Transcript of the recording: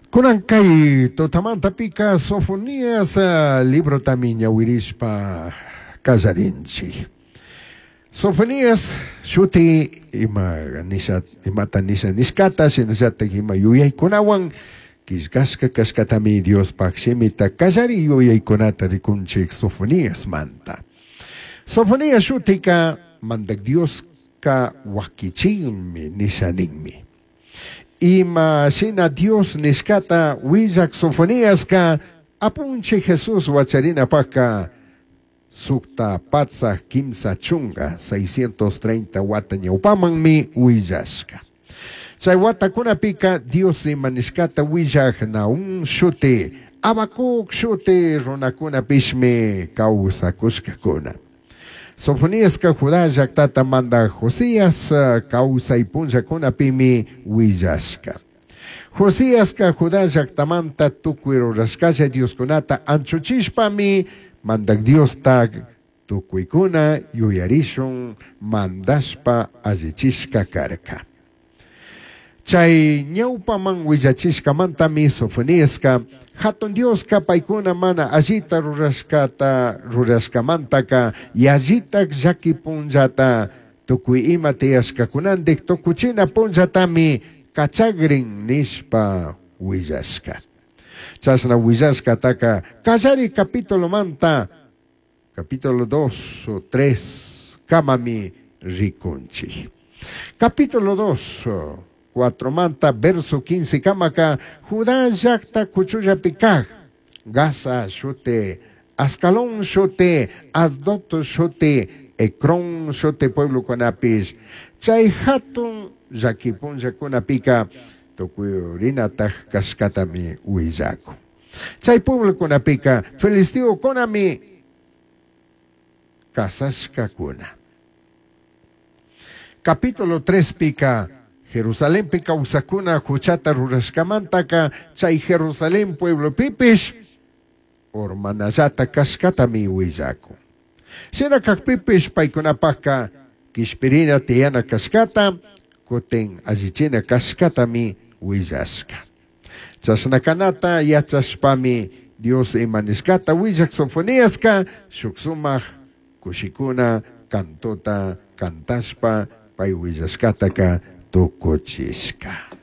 Kunan kay tutamantapika Sofonías librotami ñawirishpa kallarinchik. Sofonías shuti ima nisha imata nisha nishkata shinallatak ima yuyaykunawan killkashka kashkatami Diospaj shimita kallari yuyaykunata rikunchik Sofoniasmanta. Sofonías shutika Mandak Dioska wakichinmi nisha ninmi. Ima shina Dios nishkata willak Sofoniaska apunchik Jesús wacharinapajka 630 630 wata ñawpamanmi willashka. Chay watakunapika Dios ima nishkata willak Nahum shuti, Habacuc shuti runakunapishmi kawsakushkakuna. Sofoniaska Judá llaqtata mandaj Josías kawsay punllakunapimi willashka. Josiaska Judá llaqtamanta tukuy rurashkalla Dioskunata anchuchishpami Mandak Diosta tukuykuna yuyarishun mandashpa allichishka karka. Chay ñawpaman willachishkamantami Sofoniaska Hatun Dioska paykuna mana allita rurashkata rurashkamantaka yallitak llaki punllata tukuy ima tiyashkakunantik tukuchina punllatami kachagrin nishpa willashka. Chashna willashkataka kallari capitulomanta capítulo 2 o 3 kamami rikunchik. Capítulo 2 4 manta verso 15 kamaka Judá llaqta kuchullapi kaj Gaza shuti Ascalón shuti Asdod shuti Ecrón shuti pueblokunapish chay hatun llaki punllakunapika tukurinataj kashkatami willakun. Chay pueblokunapika filisteokunami kasashkakuna. Capítulo 3 pika Jerusalenpi kawsakuna huchata rurashkamantaka chay Jerusalén pueblopipish urmanallata kashkatami willakun. Shina kakpipish paykunapajka kishpirina tiyana kashkata kutin allichina kashkatami willashka. Chashna kanata yachashpami Dios ima nishkata willak Sofoniaska shuk sumak kushikuna cantota cantashpa pay willashkataka tukuchishka.